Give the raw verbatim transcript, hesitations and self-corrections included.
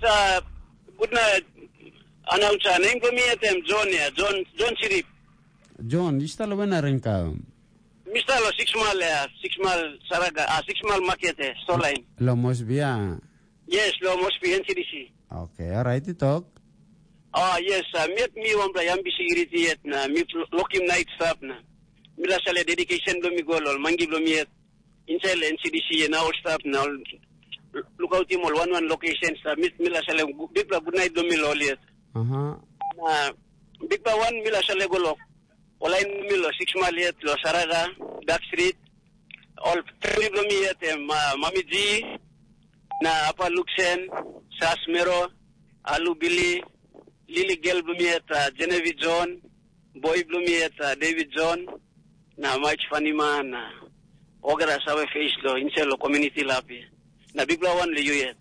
Uh, good night, announcer. Name for me at them, John, yeah, John, John Chirip. John, you still win a ring ka? Mister Lo, six mile, yeah, six mile Saraga, ah, six mile market, eh, store line. Lo must be, ah. Yes, Lo must be N C D C. Okay, all right, you talk. Ah, yes, uh, miet mi wan bla yam bisi iriti yet na mi lokim night stap na. Mi la sale dedication blo mi go lo mangi blo mi yet. Inside N C D C na all stap na all lukautim ol wan wan location stap. Mi, mi la sale gu-, big bla good night blo mi lo yet. Aha. Na big bla wan mi la sale go lo. Ol lain mi lo six mile yet lo Saraga, Dark Street. Ol family blo mi yet em uh, Mami G, na Apa Luxen, Sas Mero, Alu Billy, Lily Girl blo mi yet uh, Genevieve John, Boy blo mi yet uh, David John, na Mike Fanima, na Ogara Save Face lo, inside lo community lapi. Na big bla wan lo you yet.